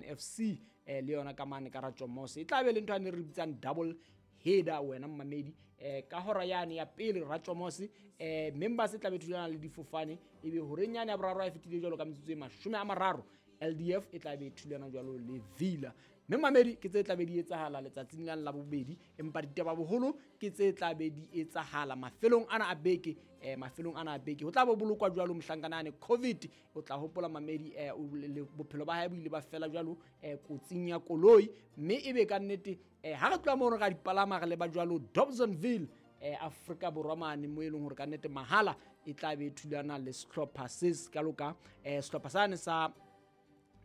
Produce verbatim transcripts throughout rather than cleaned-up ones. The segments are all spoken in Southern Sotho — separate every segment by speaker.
Speaker 1: F C eh, le yona ka mane ka Ratjomose. E tla be le ntho ane re bitsang double header wena mmamedi. Eh, ka hora yane ya pele Ratjomose, eh, members e tla be thulana le difofane, ebe horeng yane ya boraro ha e fetile jwalo ka metsotso e mashome a mararo, L D F e tla be thulana jwalo le Villa. Mme mamedi ke tse tla be di etsahala letsatsing la la bobedi, empa ditaba boholo ke tse tla be di etsahala mafelong ana a beke, eh, mafelong ana a beke. Ho tla bo bolokwa jwalo mohlankana ane COVID, o tla hopola mamedi, eh, o le, bophelo ba hae bo ile ba fela jwalo, eh, kotsing ya koloi. Mme ebe ka nnete, eh, ha re tloha mono ra dipalama re leba jwalo Dobsonville, eh, Afrika Borwa mane, mo e leng hore ka nnete mahala e tla be thulana le sehlopha se se kalo ka, eh, sehlopha sane sa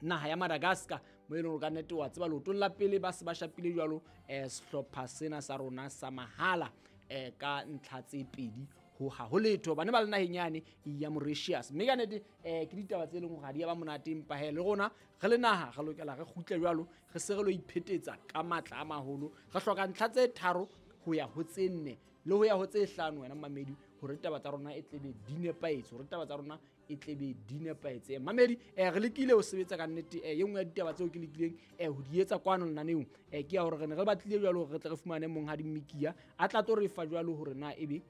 Speaker 1: naha ya Madagascar, mo e leng hore ka nnete wa tseba leotong la pele ba se ba shapile jwalo, eh, sehlopha sena sa rona sa mahala, eh, ka ntlha tse pedi ho ha ho letho. Bane ba le naheng yane ya Mauritius. Mme ka nnete, eh, ke ditaba tse leng hore ha di ya ba monate, empa he le rona re le naha re lokela re kgutle jwalo, re se re lo iphetetsa ka matla a maholo. Re hloka ntlha tse tharo ho ya ho tse nne le ho ya ho tse hlano wena mamedi, hore taba tsa rona e tlebe di nepahetse, hore taba tsa rona e tlebe di nepahetse. Mamedi, eh, re lekile ho sebetsa ka nnete. Eh, e nngwe ya ditaba tseo ke lekileng, eh, ho di etsa kwano lenaneong, eh, ke ya hore re ne re batlile jwalo hore re tle re fumane monghadi Mmikiya a tla tlo re fa jwalo hore na ebe,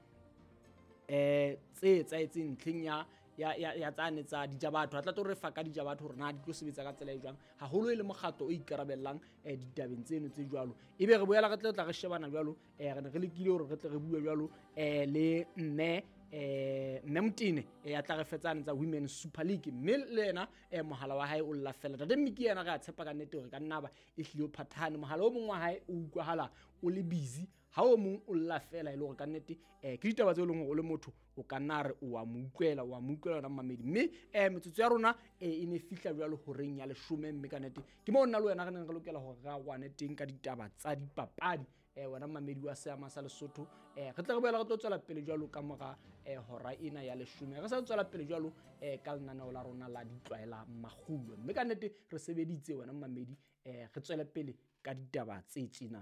Speaker 1: eh, tse etsahetseng ntlheng ya, ya, ya, ya tsane tsa dijabatho, a tla tlo re fa ka dijabatho hore na di tlo sebetsa ka tsela e jwang, haholo e le mokgatlo o ikarabellang, eh, ditabeng tseno tse jwalo. Ebe re boela re tla tla re shebana jwalo, eh, re ne re lekile hore re tle re bue jwalo, eh, le mme, eh, mme Motene, eh, ya tla re fetsane tsa Women Super League, mme le yena, eh, mohala wa hae o lla fela. Ntate Mmiki yena re a tshepa ka nnete hore ka nna ba e hlile o phathahane, mohala o mong wa hae o utlwahala o le busy, ha o mong o lla fela, e le hore ka nnete, eh, ke ditaba tseo e leng hore o le motho o ka nna re o a mo utlwela, o a mo utlwela wena mmamedi. Mme, eh, metsotso ya rona, eh, e ne fihla jwalo horeng ya leshome, mme ka nnete ke moo nna le wena re neng re lokela hore re arohane teng ka ditaba tsa dipapadi. Eh, wena mmamedi wa Seama sa Lesotho, eh, re tla re boela re tlo tswela pele jwalo ka mora, eh, hora ena ya leshome. Re sa tswela pele jwalo, eh, ka lenaneo la rona la ditlwaela makgulo. Mme ka nnete re sebeditse wena mmamedi, eh, re tswele pele ka ditaba tse tjena.